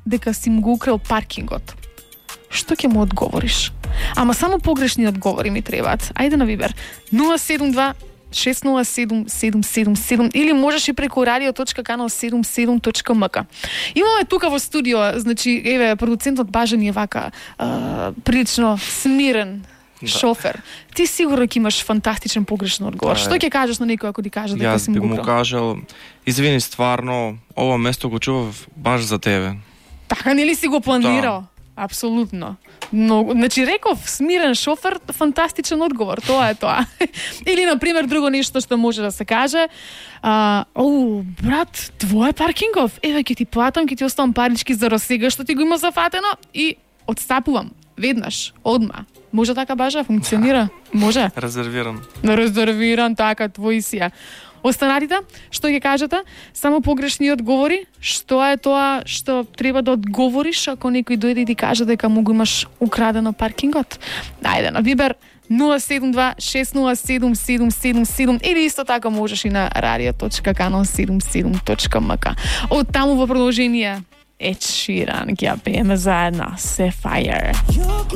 дека си му го украл паркингот, што ќе му одговориш? Ама само погрешни одговори ми требаат. Ајде на Вибер 072 607 777 или можеш и преку radio.kanal77.mk. Имаме тука во студио, значи, еве, продуцентот Бажан е вака прилично смирен шофер. Ти сигурно ќе имаш фантастичен погрешен одговор. Што ќе кажеш на некој ако ти каже дека си му Јас би му украл? кажал, извини, стварно, ова место го чував баш за тебе. Така нели си го планирал? Апсолутно. Но, значи, реков, смирен шофер, фантастичен одговор, тоа е тоа. Или, например, друго нешто што може да се каже, брат, твој паркингов, еве, ќе ти платам, ќе ти оставам парички за сега што ти го има зафатено и отстапувам, веднаш, одма. Може така, Бажа, функционира? Може? Резервиран, така, твој си ја. Останатите, што ќе кажете? Само погрешни одговори. Што е тоа што треба да одговориш ако некој дојде и ти каже дека му го имаш украдено паркингот? Ајде на Вибер 072 607 777 или исто така можеш и на radio.kanal77.mk. Од таму во продолжение Ed Sheeran ќе ја пееме заедно Sapphire.